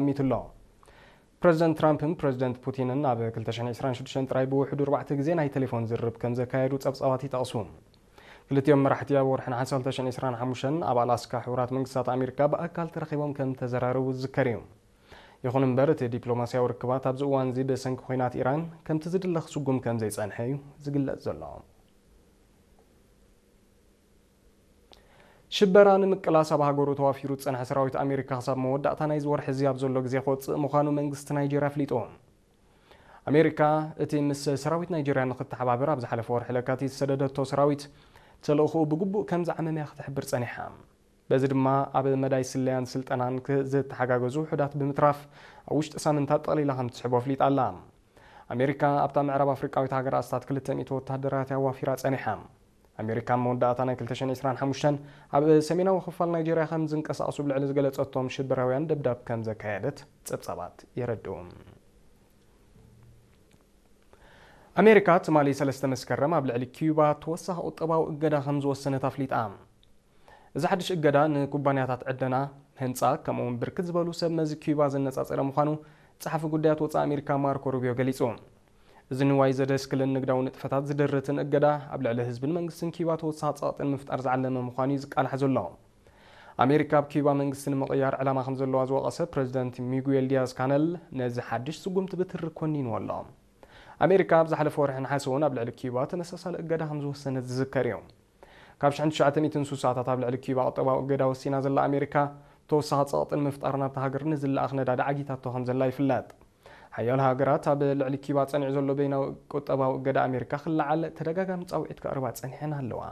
ኣሚቱ ኣሎ። ፕረዚደንት ትራምፕን ፕረዚደንት ፑቲንን ኣብ ክልተ ሽሕን ዕስራን ሽዱሽተን ጥራይ ብውሕዱ ኣርባዕተ ግዜ ናይ ቴሌፎን ዝርርብ ከም ዘካየዱ ጸብጻባት ይጠቕሱ። ክልቲኦም መራሕቲ ኣብ ወርሒ ነሓሰ ክልተ ሽሕን ዕስራን ሓሙሽተን ኣብ ኣላስካ ሕቡራት መንግስታት ኣሜሪካ ብኣካል ተራኺቦም ከም ተዘራረቡ ዝዝከር እዩ። ይኹን እምበር፣ እቲ ዲፕሎማስያዊ ርክባት ኣብዚ እዋን እዚ ብሰንኪ ኲናት ኢራን ከምቲ ዝድለ ክስጉም ከም ዘይጸንሐ እዩ ዝግለጽ ዘሎ። ሽበራ ንምቅላስ ኣብ ሃገሩ ተዋፊሩ ዝጸንሐ ሰራዊት ኣሜሪካ ክሳብ መወዳእታ ናይዚ ወርሒ እዚ ኣብ ዘሎ ግዜ ክወጽእ ምዃኑ መንግስቲ ናይጄርያ ኣፍሊጡ። ኣሜሪካ እቲ ምስ ሰራዊት ናይጄርያ ንክተሓባበር ኣብ ዝሓለፈ ወርሒ ለካቲት ዝሰደደቶ ሰራዊት ተልእኾኡ ብግቡእ ከም ዝዓመመ እያ ክትሕብር ጸኒሓ። በዚ ድማ ኣብ መዳይ ስለያን ስልጠናን ክ-፣ ዝተሓጋገዙ ውሑዳት ብምትራፍ ኣብ ውሽጢ ሳምንታት ጠቕሊላ ከም ትስሕቦ ኣፍሊጣ ኣላ። ኣሜሪካ ኣብታ ምዕራብ ኣፍሪቃዊት ሃገር ኣስታት ክልተ ሚእቲ ወታደራት ኣዋፊራ ጸኒሓ። ኣሜሪካ ኣብ መወዳእታ ናይ ክልተ ሽሕን ዕስራን ሓሙሽተን ኣብ ሰሜናዊ ክፋል ናይጄርያ ከም ዝንቀሳቐሱ ብልዕሊ ዝገለጸቶም ሽበራውያን ደብዳብ ከም ዘካየደት ጸብጻባት የረድኡ። ኣሜሪካ ትማሊ ሰለስተ መስከረም ኣብ ልዕሊ ኪዩባ ተወሳኺ ቁጠባዊ እገዳ ከም ዝወሰነት ኣፍሊጣ። እዚ ሓድሽ እገዳ ንኩባንያታት ዕደና፣ ህንጻ፣ ከምኡ እውን ብርክት ዝበሉ ሰብ መዚ ኪዩባ ዘነጻጸረ ምዃኑ ጸሓፊ ጉዳያት ወጻኢ ኣሜሪካ ማርኮ ሩቢዮ ገሊጹ። እዚ ንዋይ ዘደስክልን ንግዳዊ ንጥፈታት ዝድርትን እገዳ ኣብ ልዕሊ ህዝብን መንግስትን ኪዩባ ተወሳኺ ጸቕጢ ንምፍጣር ዝዓለመ ምዃኑ እዩ ዝቃላሕ ዘሎ። ኣሜሪካ ኣብ ኪዩባ መንግስቲ ንምቕያር ዕላማ ከም ዘለዋ ዝወቐሰ ፕረዚደንት ሚጉኤል ዲያዝ ካነል ነዚ ሓድሽ ስጉምቲ ብትሪ ኮኒንዎ ኣሎ። ኣሜሪካ ኣብ ዝሓለፈ ወርሒ ነሓሰ እውን ኣብ ልዕሊ ኪዩባ ተመሳሳሊ እገዳ ከም ዝወሰነት ዝዝከር እዩ። ካብ ሽሕን ትሽዓተ ሚእትን ስሳታት ኣብ ልዕሊ ኪዩባ ቁጠባዊ እገዳ ወሲና ዘላ ኣሜሪካ፣ ተወሳኺ ጸቕጢ ንምፍጣር ናብታ ሃገር ንዝለኣኽ ነዳዲ ዓጊታቶ ከም ዘላ ይፍለጥ። ሓያሎ ሃገራት ኣብ ልዕሊ ኪዩባ ጸኒዑ ዘሎ በይናዊ ቁጠባዊ እገዳ ኣሜሪካ ክለዓል ተደጋጋሚ ጻውዒት ከቕርባ ጸኒሐን ኣለዋ።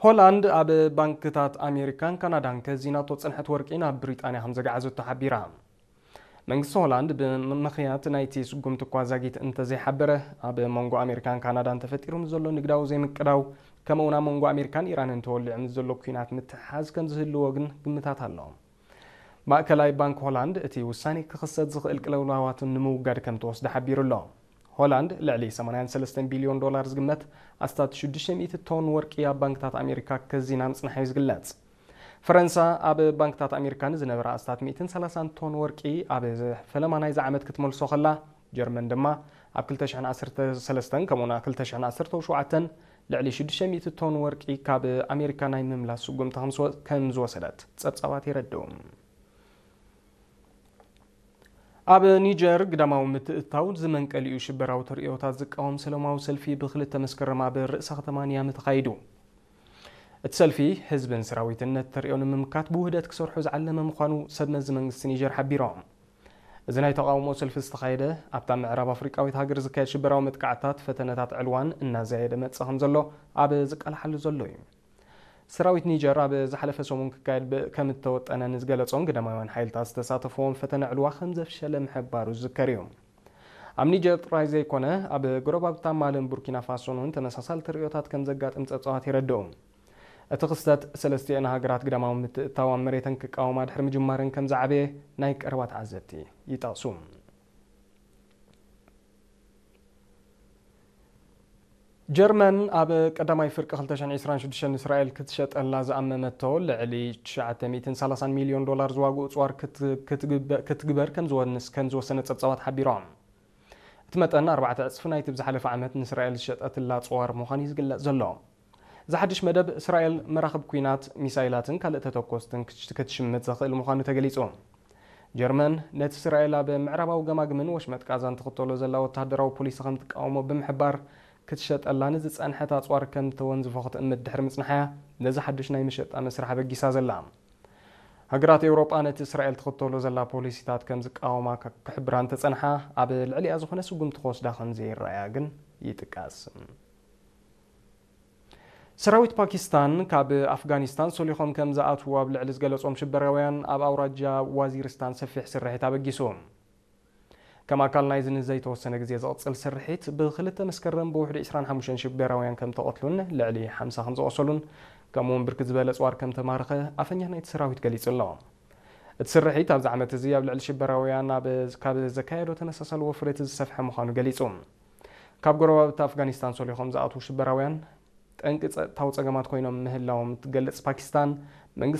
ሆላንድ ኣብ ባንክታት ኣሜሪካን ካናዳን ከዚናቶ ጸንሐት ወርቂ ናብ ብሪጣንያ ከም ዘገዓዘቶ ሓቢራ። መንግስቲ ሆላንድ ብምኽንያት ናይቲ ስጉምቲ እኳ ዛጊት እንተዘይሓበረ፣ ኣብ መንጎ ኣሜሪካን ካናዳን ተፈጢሩ ምስ ዘሎ ንግዳዊ ዘይምቅዳው፣ ከምኡውን ኣብ መንጎ ኣሜሪካን ኢራንን ተወሊዑ ምስ ዘሎ ኲናት ምትሕሓዝ ከም ዝህልዎ ግን ግምታት ኣሎ። ማእከላይ ባንክ ሆላንድ እቲ ውሳኔ ክኽሰት ዝኽእል ቅልውላዋት ንምውጋድ ከም ተወስደ ሓቢሩ ኣሎ። ሆላንድ ልዕሊ ሰማንያን ሰለስተን ቢልዮን ዶላር ዝግመት ኣስታት ሽዱሽተ ሚእቲ ቶን ወርቂ ኣብ ባንክታት ኣሜሪካ ከዚና ምጽንሓ እዩ ዝግለጽ። ፈረንሳ ኣብ ባንክታት ኣሜሪካ ንዝነበረ ኣስታት ሚእትን ሰላሳን ቶን ወርቂ ኣብ ፈለማ ናይዚ ዓመት ክትመልሶ ከላ፣ ጀርመን ድማ ኣብ ክልተ ሽሕን ዓሰርተ ሰለስተን ከምኡውን ኣብ ክልተ ሽሕን ዓሰርተ ሸውዓተን ልዕሊ ሽዱሽተ ሚእቲ ቶን ወርቂ ካብ ኣሜሪካ ናይ ምምላስ ስጉምቲ ከም ዝወ-፣ ከም ዝወሰደት ጸብጻባት የረድኡ። ኣብ ኒጀር ግዳማዊ ምትእትታው ዝመንቀሊኡ ሽበራዊ ተርእዮታት ዝቃወም ሰላማዊ ሰልፊ ብክልተ መስከረም ኣብ ርእሰ ከተማ ኒያሚ ተኻይዱ። እቲ ሰልፊ ህዝብን ሰራዊትን ነቲ ተርእዮ ንምምካት ብውህደት ክሰርሑ ዝዓለመ ምዃኑ ሰብ መዚ መንግስቲ ኒጀር ሓቢሮም። እዚ ናይ ተቓውሞ ሰልፊ ዝተኻየደ ኣብታ ምዕራብ ኣፍሪቃዊት ሃገር ዝካየድ ሽበራዊ መጥቃዕታት፣ ፈተነታት ዕልዋን እናዘየደ መጽእ ከም ዘሎ ኣብ ዝቃልሓሉ ዘሎ እዩ። ሰራዊት ኒጀር ኣብ ዝሓለፈ ሰሙን ክካየድ ብ-፣ ከም እተወጠነ ንዝገለጾን ግዳማውያን ሓይልታት ዝተሳተፍዎን ፈተነ ዕልዋ ከም ዘፍሸለ ምሕባሩ ዝዝከር እዩ። ኣብ ኒጀር ጥራይ ዘይኮነ፣ ኣብ ጎረባብታ ማልን ቡርኪና ፋሶን እውን ተመሳሳሊ ተርእዮታት ከም ዘጋጥም ጸብጻባት የረድኡ። እቲ ክስተት ሰለስቲኤን ሃገራት ግዳማዊ ምትእትታው ኣብ መሬተን ክቃወማ ድሕሪ ምጅማረን ከም ዝዓበየ ናይ ቀረባ ተዓዘብቲ ይጠቕሱ። ጀርመን ኣብ ቀዳማይ ፍርቂ ክልተ ሽሕን ዕስራን ሽዱሽተን ንእስራኤል ክትሸጠላ ዝኣመመቶ ልዕሊ ትሽዓተ ሚእትን ሰላሳን ሚልዮን ዶላር ዝዋግኡ ኣጽዋር ክት-፣ ክትግበ-፣ ክትግበር ከም ዝወንስ-፣ ከም ዝወሰነ ጸብጻባት ሓቢሮም። እቲ መጠን ኣርባዕተ ዕጽፊ ናይቲ ብዝሓለፈ ዓመት ንእስራኤል ዝሸጠትላ ኣጽዋር ምዃኑ እዩ ዝግለጽ ዘሎ። እዚ ሓድሽ መደብ፣ እስራኤል መራኽብ ኲናት፣ ሚሳይላትን ካልእ ተተኮስትን ክት-፣ ክትሽምት ዘኽእል ምዃኑ ተገሊጹ። ጀርመን ነቲ እስራኤል ኣብ ምዕራባዊ ገማግምን ወሽመጥ ቃዛን ትኽተሎ ዘላ ወተሃደራዊ ፖሊሲ ከም ትቃወሞ ብምሕባር፣ ክትሸጠላ ንዝጸንሐት ኣጽዋር ከም ተወንዝፎ ክትእምት ድሕሪ ምጽንሓያ፣ ነዚ ሓድሽ ናይ መሸጣ መስርሕ ኣበጊሳ ዘላ። ሃገራት ኤውሮጳ ነቲ እስራኤል ትኽተሎ ዘላ ፖሊሲታት ከም ዝቃወማ ክ-፣ ክሕብራ እንተጸንሓ፣ ኣብ ልዕሊኣ ዝኾነ ስጉምቲ ክወስዳ ከም ዘይረኣያ ግን ይጥቀስ። ሰራዊት ፓኪስታን ካብ ኣፍጋኒስታን ሶሊኾም ከም ዝኣትዉ ኣብ ልዕሊ ዝገለጾም ሽበራውያን ኣብ ኣውራጃ ዋዚርስታን ሰፊሕ ስርሒት ኣበጊሱ። ከም ኣካል ናይዚ ንዘይተወሰነ ግዜ ዝቕጽል ስርሒት፣ ብክልተ መስከረም ብውሕዱ ዕስራን ሓሙሽተን ሽበራውያን ከም ተቐትሉን ልዕሊ ሓምሳ ከም ዝቖሰሉን፣ ከምኡውን ብርክት ዝበለ ኣጽዋር ከም ተማረኸ ኣፈኛ ናይቲ ሰራዊት ገሊጹ ኣሎ። እቲ ስርሒት ኣብዚ ዓመት እዚ ኣብ ልዕሊ ሽበራውያን ኣብ፣ ካብ ዘካየዶ ተመሳሳሊ ወፍሪ እቲ ዝሰፍሐ ምዃኑ ገሊጹ። ካብ ጎረባብቲ ኣፍጋኒስታን ሶሊኾም ዝኣትዉ ሽበራውያን ጠንቂ ጸጥታዊ ጸገማት ኮይኖም ምህላዎም እትገልጽ ፓኪስታን፣ መንግስቲ